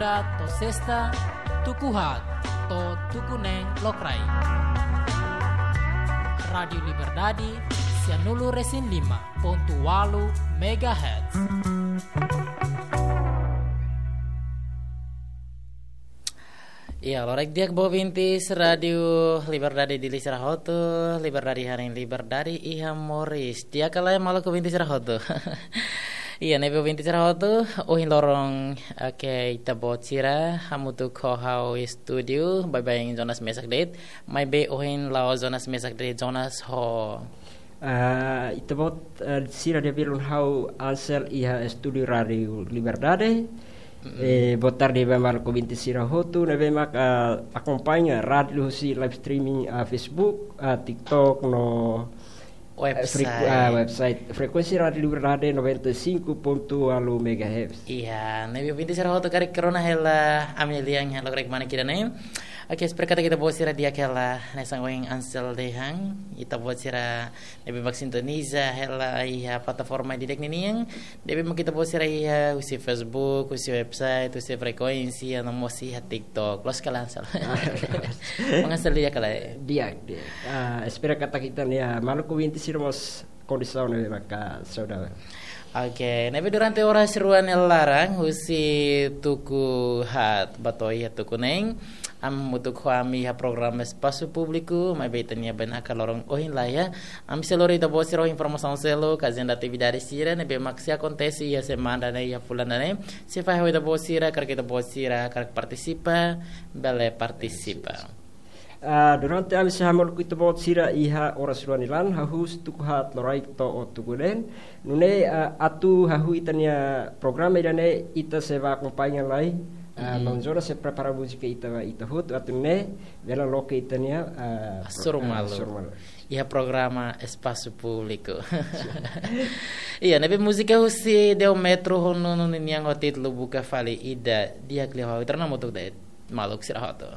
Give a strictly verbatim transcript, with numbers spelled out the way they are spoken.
To'o sesta, tuku haat to'o tuku neen lokraik. Rádiu Liberdade, sianulu-resin-lima pontu ualu megahertz. Iya, loraik di'ak ba ouvintes Rádiu Liberdade Dili sira hotu, Liberdade hanesan liberdade iha moris. Di'ak ka lae maluk ouvintes sira hotu? Iya, ne'ebé ouvintes sira hotu, ohin loron, oke, ita-boot sira hamutuk ho ha'u estúdiu, baibain Jonas mesak de'it, maibé ohin la'ós Jonas mesak de'it, Jonas ho Ah, ita-boot, ah, sira di'ak, belun, ha'u Ansel iha estúdiu Rádiu Liberdade. Mm-mm. Eh, boa tarde ba maluk ouvintes sira hotu ne'ebé mak akompaña rádiu husi live streaming, ah, Facebook, ah, TikTok no, eh, freku-, ah, website. Website. Frekuénsia Rádiu Liberdade noventa e cinco ponto ualu megahertz. Iya, ne'ebé ouvintes sira hotu karik rona hela ami-nia lian iha lokraik manik ida-ne'e. Oke, espera katak ita-boot sira di'ak hela, hanesan ohin Ansel dehan, ita-boot sira ne'ebé mak sintoniza hela iha plataforma di'ak ninian, ne'ebé mak ita-boot sira iha husi Facebook, husi website, husi frekuénsia, no mós iha TikTok. Loos ka lae, Ansel? Mak Ansel di'ak ka lae? Di'ak, di'ak. Ah, espera katak ita-nia maluk ouvintes sira mós kondisaun ne'ebé maka saudavel. Oke, ne'ebé durante oras rua nia laran, husi tuku haat ba to'o iha tuku neen, ami hamutuk ho ami iha programa Espasu Públiku, maibé ita-nia bainaka loron ohin laiha. Ami sei lori ita-boot sira ho informasaun seluk, ajenda atividade sira ne'ebé mak sei akontese iha semana ne'e, iha fulan ne'e. Sei fahe ho ita-boot sira, karik ita-boot sira hakarak partisipa, bele partisipa. Ah, durante ami sei hamolok ho ita-boot sira iha oras rua nia laran, hahú husi tuku haat loraik to'o tuku neen. Nune'e, ah, atu hahú ita-nia programa ida-ne'e, ita sei bá akompaña lai. Ah, Mhm. Maun Jonas sei prepara múzika ida ba ita hotu, atu nune'e bele loke ita-nia, ah, pro-, Hasoru ah, malu. Hasoru malu. Iha programa Espasu Públiku. Iya, ne'ebé múzika husi Deo Metro ho Nunu ninian ho títulu Buka Fali Ida, di'ak liu ha'u. Ita rona hamutuk de'it, maluk sira hotu.